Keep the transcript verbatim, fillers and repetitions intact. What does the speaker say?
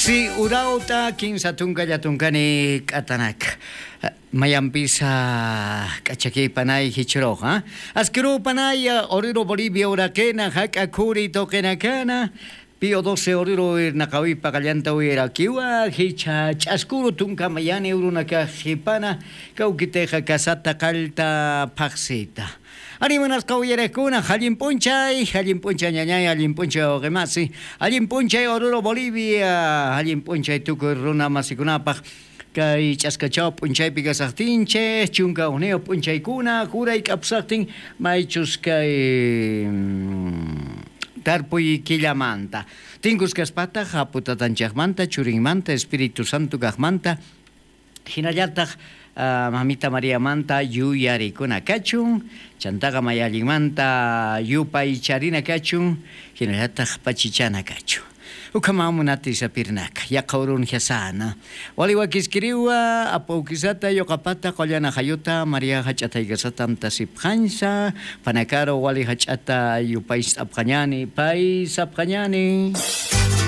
Si urauta kinsa tunkalla tunkani k'atanak. Mayampisa k'achakiypanay hichroqa. Askirupanay Oruro Bolivia urakena hak'a kuri toqenakana. Pío doce Oruro irnaqawipa qallanta wirakiwa hicha ch'askuru tunka mayani urunaka hipana kawkiteqa kasata qalta phaqsita. Arimanasqa uyarekuna allin p'unchay, allin p'unchay ñañay, allin p'unchay wawqimasi, allin p'unchay Oruro Bolivia, allin p'unchay tukuy runa masikunapaq. Kay ch'askachaw p'unchaypi kasaqtinchik, chunka hukniyuq p'unchaykuna juray k'apusaqtin maychus kay tarpuy killamanta. Tinkus kaspataq Aputatanchaqmanta, Churinmanta, Espíritu Santo kaqmanta, hinallataq uh, Mamita Mariamanta yuyarikuna kachun, chantaqa mayallinmanta yupaycharina kachun, hinallataq pachichana kachun. Ukamamunati sapirnaka, yaqaurun hiasana. Waliwakiskiriwa, apaukisata, yoqapata, qollana hayuta, María hach'ataykasatam tasipqansa, panakaro wali hach'ata yupaysapqañani, paysapqañani.